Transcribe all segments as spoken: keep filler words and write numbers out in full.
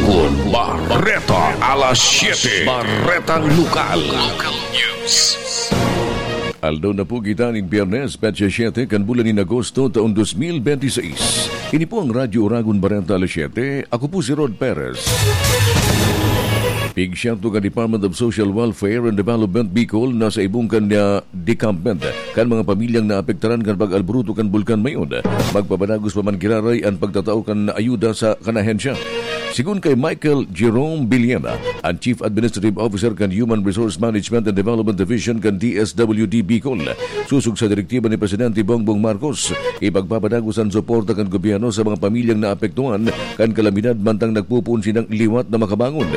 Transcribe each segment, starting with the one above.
Bareta alas siete. Baretang Lokal. Local News. Aldaw na po kita nin Biyernes, petsa siete kan bulan nin Agosto, taon dos mil benti seis. Ini po ang Radyo Oragon Bareta alas siete. Ako po si Rod Perez. Pigsyento kan Department of Social Welfare and Development Bicol na sa ibong kan, ah, decampment kan mga pamilyang naapektaran kan pag-alboroto kan Bulkan Mayon. Magpapadagos pa man giraray an pagtatao kan ayuda sa kan ahensya. Sigon kay Michael Jerome Villena, an Chief Administrative Officer kan Human Resource Management and Development Division kan D S W D Bicol, sosog sa direktiba ni Presidente Bongbong Marcos, ipagpapadagos an suporta kan gobyerno sa mga pamilyang naapektuhan kan kalamidad mantang nagpopoon sinang liwat na makabangon.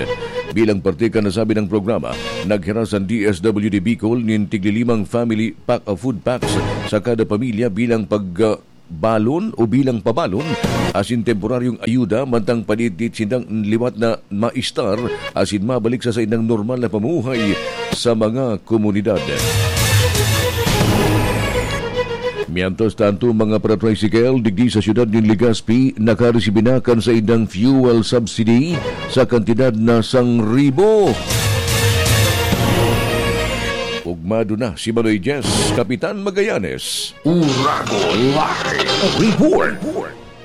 Bilang parte kan nasabi nang programa, naghiras an D S W D Bicol nin tiglilimang family pack of food packs sa kada pamilya bilang pag, ah, balon o bilang pabalon asin temporaryong ayuda mantang paditdit sindang liwat na maistar asin mabalik sa saindang normal na pamumuhay sa mga komunidad. Mientras tanto, mga para-tricycle digdi sa siyudad nin Legazpi nakaresibi na kan saindang fuel subsidy sa kantidad na sangribo. Ugmado na si Manoy Jess, Kapitan Magallanes. Urago Live Report.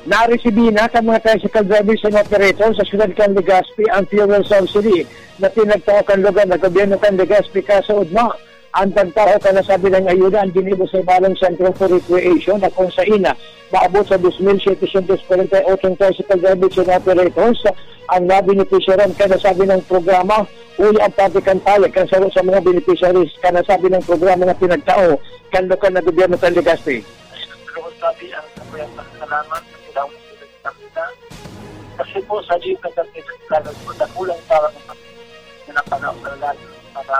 Naresibi na kan mga tricycle drivers and operators sa siyudad kan Legazpi ang fuel subsidy na pinagtao kan lugar na gobyerno kan Legazpi. Kasaud na, ang pagtao kan nasabing ayuda an ginibo sa ibalong Centro for Recreation na kung sain na maabot sa dos mil setecientos kwarenta y ocho tricycle drivers and operators ang nabenepisyaran kan nasabing programa. Huli ang parte kan payag kan saro sa mga beneficiaries kan nasabing programa na pinagtao kan lokal na gobyerno kan Legazpi. Lubos kami ang sabayang pasalamat sa Panginoon sa Pilipinas. Kasi po, sa liit na kantidad, talagang po, dakulang parang na panahon na lalo para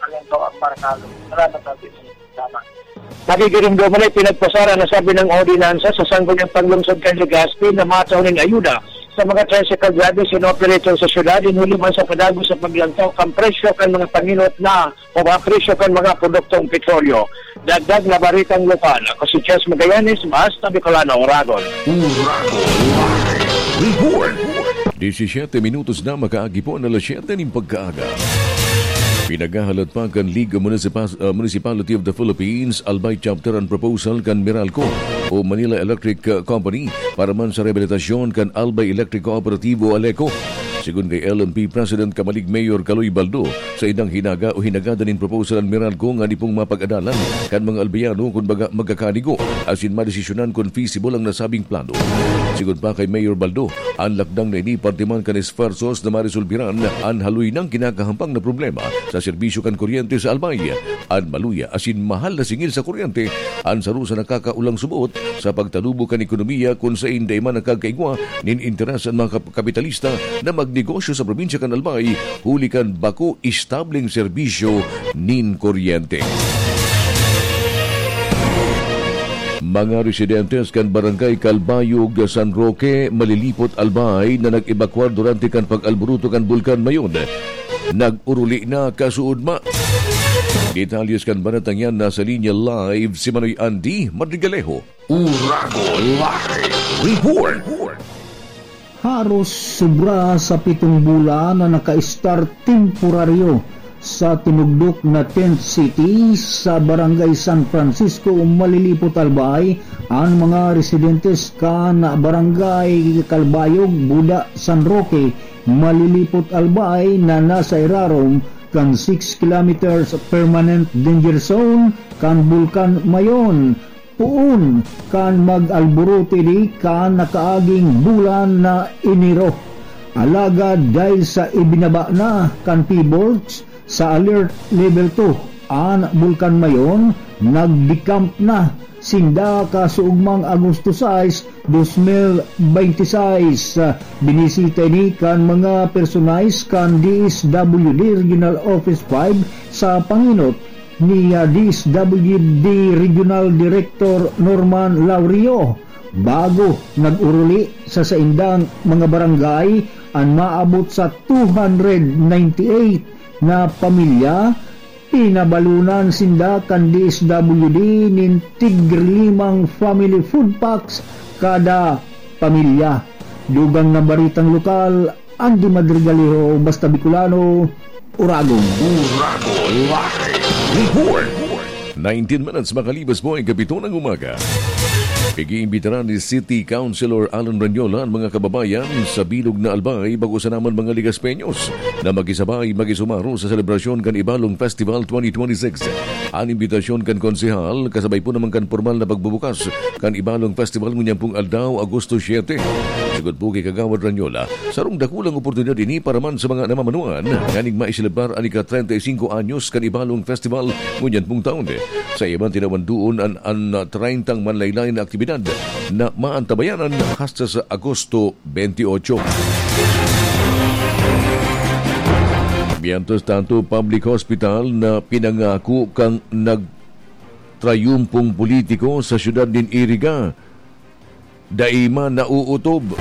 paglantaw ang barkalo. Salamat sa Pilipinas. Salamat. Nakikirumduman ay pinagpasara na sabi ng ordinansa sa Sangguniang Panglungsod kan Legazpi na matao nin ayuda sa mga tricycle drivers and operators sa syudad, in huli man sa padagos sa paglantaw kan presyo kan mga panginot na o mga presyo kan mga produktong petrolyo. Dagdag na baritang lokal, ako si Chess Magallanes, Basta Bicolano, Oragon. Urago Live Report. Disisiete minutos na makaagi po an alas siyete nin pagkaaga. Pinaghahalat pa kan League of Municipal-, ah, Municipality of the Philippines, Albay Chapter, an proposal kan Meralco o Manila Electric, ah, Company para man sa rehabilitasyon kan Albay Electric Cooperativo, ALECO. Sigon kay L M P President Kamalig Mayor Kaloy Baldo, sa idang hinaga o hinagada nin proposal an Meralco ngani pong mapag-adalan kan mga Albayano kun baga magkakanigo asin madesisyonan kun feasible ang nasabing plano. Sigon pa kay Mayor Baldo, an lakdang na ini parte man kan esfuerzos na maresolbiran an haloy nang kinakahampang na problema sa serbisyo kan kuryente sa Albay. An maluya asin mahal na singil sa kuryente an saro sa nakakaulang suboot sa pagtalubo kan ekonomiya kun sain dai man nakakaigwa nin interes an mga kap-, kapitalista na magnegosyo sa probinsya kan Albay huli kan bako estableng serbisyo nin kuryente. Mga residentes kan Barangay Calbayog, San Roque, Malilipot, Albay na nag-ebakwar durante kan pag-alboroto kan Bulkan Mayon, nag-uruli na kasuodma. Detalyes kan baretang yan nasa linya live si Manoy Andy Madrigalejo. Urago Live Report. Haros sobra sa pitong bulan na naka-estar temporaryo sa tinugdok na tent city sa Barangay San Francisco, Malilipot, Albay, ang mga residentes kan Barangay Calbayog, Buda, San Roque, Malilipot, Albay na nasa irarom kan six kilometers permanent danger zone kan Bulkan Mayon. Poon kan mag-alboroto ini kan nakaaging bulan na Enero. Alagad dahil sa ibinaba na kan PHIVOLCS sa Alert Level two an Bulkan Mayon, nag-decamp na sinda kasuugmang Agosto sais, dos mil benti sais. Binisita ini kan mga personays kan D S W D Regional Office five sa pangenot ni, ah, D S W D Regional Director Norman Laurio. Bago nag-uruli sa saindang mga barangay an maabot sa two hundred ninety-eight na pamilya, pinabalunan sinda kan D S W D nin tiglimang family food packs kada pamilya. Dugang na baritang lokal, Andy Madrigaliho, Basta Bicolano, Uragon. Uragon Live Report. Nineteen minutes makalipas po ang kapito ng umaga. Pag-iimbitaran ni City Councilor Alan Ranyola ang mga kababayan sa bilog na Albay, bako sa naman mga Ligaspeños, na makisabay, makisumaro sa selebrasyon kan Ibalong Festival twenty twenty-six. An imbitasyon kan konsehal, kasabay po naman kan pormal na pagbubukas kan Ibalong Festival ngunyan pong aldaw, Agosto siete. Sugod po kay Kagawad Ranyola, sarong dakulang oportunidad ini para man sa mga namamanuan nganing maiselebrar an ika-treinta y cinco anyos kan Ibalong Festival ngunyan pong taon. Sa iyan man, tinawan duon an, an treyntang manlaylay na aktibidad na maantabayanan hasta sa Agosto twenty-eight. Mientras tanto, public hospital na pinangako kan nagtrayumpong politiko sa siyudad nin Iriga, dai man nauutob.